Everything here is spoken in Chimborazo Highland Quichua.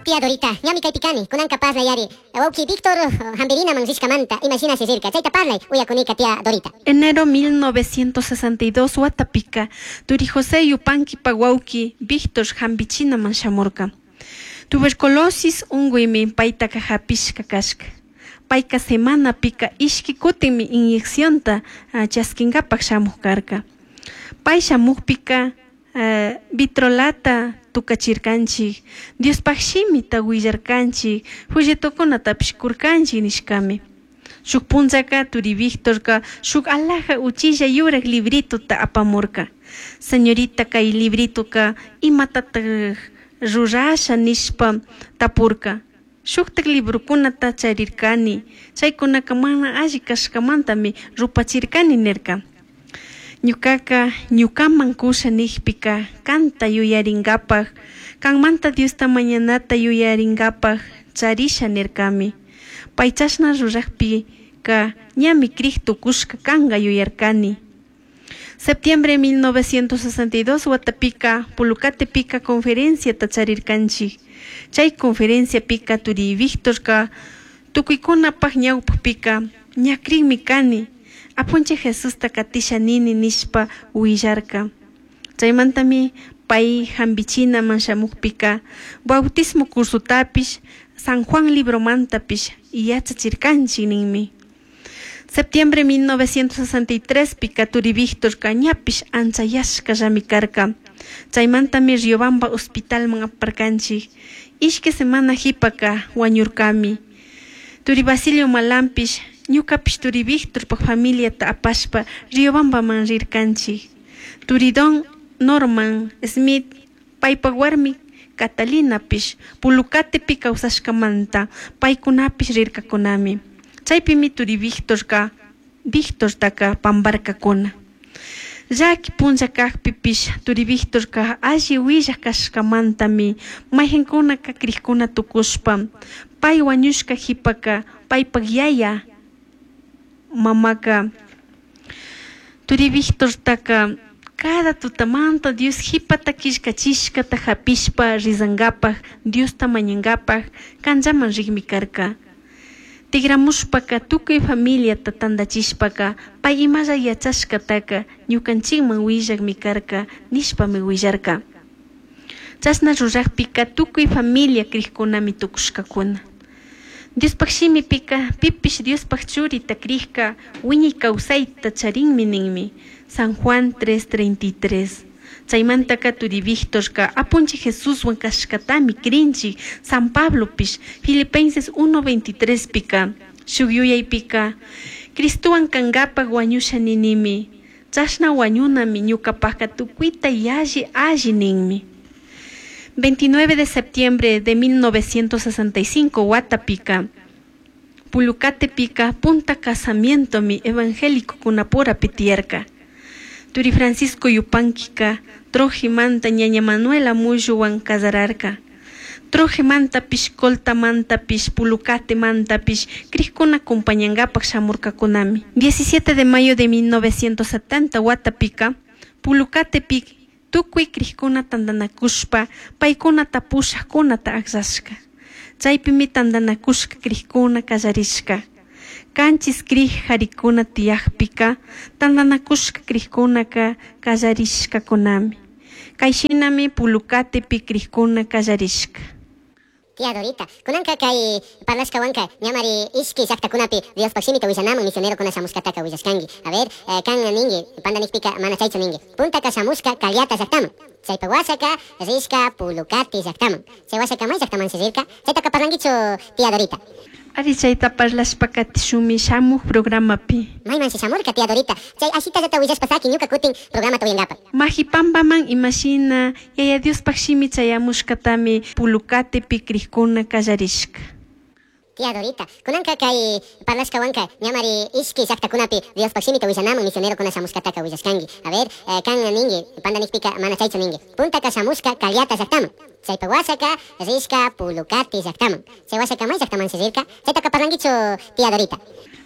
Tía Dorita, ñami kaypi kani, kunanka parlayari. Wawki Víctor hampirinaman rishkamanta, imashina rirka, chayta parlay, uyakunika tía Dorita. Enero 1962 watapika, turi José Yupanquipa wawki Víctor hampichinaman shamurka. Tuberculosis unkuymi paytaka hapishka kashka. Payka semanapika ishki kutinmi inyeccionta chaskinkapak shamuk karka. Pay shamukpika vitrolata tukachirkanchik, Diospaj shimita willarkanchik, folletokunatapish kurkanchik nishkami. Shuk punllaka turi Víctorka shuk alhaja uchilla yurak librituta apamurka. Señorita, kay librituka imatatak rurasha nishpa tapurka. Shuktak librokunata charirkani, chaykunaka mana alli kashkamantami rupachirkani nirka. Ñukaka ñukaman kusha nijpika kanta yuyarinkapak, kanmanta Diosta mañanata yuyarinkapak charisha nirkami. Pay chashna rurakpika ñami krik tukushka kanka yuyarkani. Septiembre 1962 watapika Pulucatepika conferenciata charirkanchik. Chay conferenciapika turi Víctorka tukuykunapak ñawpakpika ña krikmi kani, Apunchik Jesusta katisha nini nishpa willarka. Chaymantami pay hampichinaman shamukpika bautismo cursotapish San Juan libromantapish yachachirkanchik ninmi. Septiembre 1963 pika turi Víctorka ñapish anchayashkallami karka. Chaymantami Riobamba hospitalman aparkanchik. Ishki semana hipaka wañurkami. Turi Basilio Malampish ñukapish turi Víctorpak familiata apashpa Riobambaman rirkanchik. Turi Don Norman Smith paypak warmi Catalinapish Pulucatepi kawsashkamanta paykunapish rirkakunami. Chaypimi turi Víctorka Víctortaka pamparkakuna. Llaki punlla kakpipish turi Víctorka alli willak kashkamantami mayqinkunaka krikuna tukushpa pay wañushka hipaka paypak yaya mamaka turi Víctortaka cada tutamanta Dios hipata killkachishkata hapishpa rizankapak Diosta mañankapak kanllaman rikmi karka. Tigramushpaka tukuy familiata tantachishpaka pay imalla yachashkataka ñukanchikman willakmi karka nishpami willarka. Chashna rurakpika tukuy familia krikkunami tukushkakuna. Diospaj shimipika pipish Diospaj churita krikka wiñay kawsayta charinmi ninmi. San Juan 3:33. Chaymantaka turi Víctorka Apunchik Jesuswan kashkatami krinchik San Pablopish Filipenses 1:23 pika shuk yuyaypika Cristowan kankapak wañusha ninimi chashna wañunami ñukapaka tukuyta yalli alli ninmi. 29 de septiembre de 1965 watapika Pulucatepika punta casamientomi evangélico kunapurapi tiyarka. Turi Francisco Yupanquika Trojimanta ñaña Manuela Mulluwan casararka. Trojimantapish Coltamantapish Pulucatemantapish krikuna acompañankapak shamurkakunami. 17 de mayo de 1970 watapika Pulucatepi tukuy krikuna tantanakushpa paykunata pushakkunata akllashka. Chaypimi tantanakushka krikuna kallarishka. Kanchis krik harikuna tiyakpika tantanakushka krikkunaka kallarishkakunami. Kayshinami Pulucatepi krikuna kallarishka. Tía Dorita, kunanka kay parlashkawanka ñamari ishki llaqtakunapi Diospaj shimita willanaman misionerokuna shamushkataka willashkanki. A ver, kan ninki, pandanikpika mana chaychu ninki. Puntaka shamushka Callata llaqtaman. Chaypa washaka rishka Pulucati llaqtaman. Chay washaka may llaqtamanshi rirka. Chaytaka parlankichu, tía Dorita? Ari, chayta parlashpa katishunmi shamuk programapi. Maymanshi shamurka, tía Dorita? Chay ashitallata willashpa saki ñuka kutin programata uyankapak. Majipampaman imashina Yaya Diospaj shimi chayamushkatami Pulucatepi krikuna kallarishka. Tía Dorita, kunanka kay parlashkawanka ñamari ishki llaqtakunapi Diospaj shimita willanaman misionerokuna shamushkataka willashkanki. A ver, kan ninki, pandanikpika mana chaychu ninki. Puntaka shamushka Callata llaqtaman. Chaypa washaka rishka Pulucati llaqtaman. Chay washaka may llaqtamanshi rirka. Chaytaka parlankichu, tía Dorita?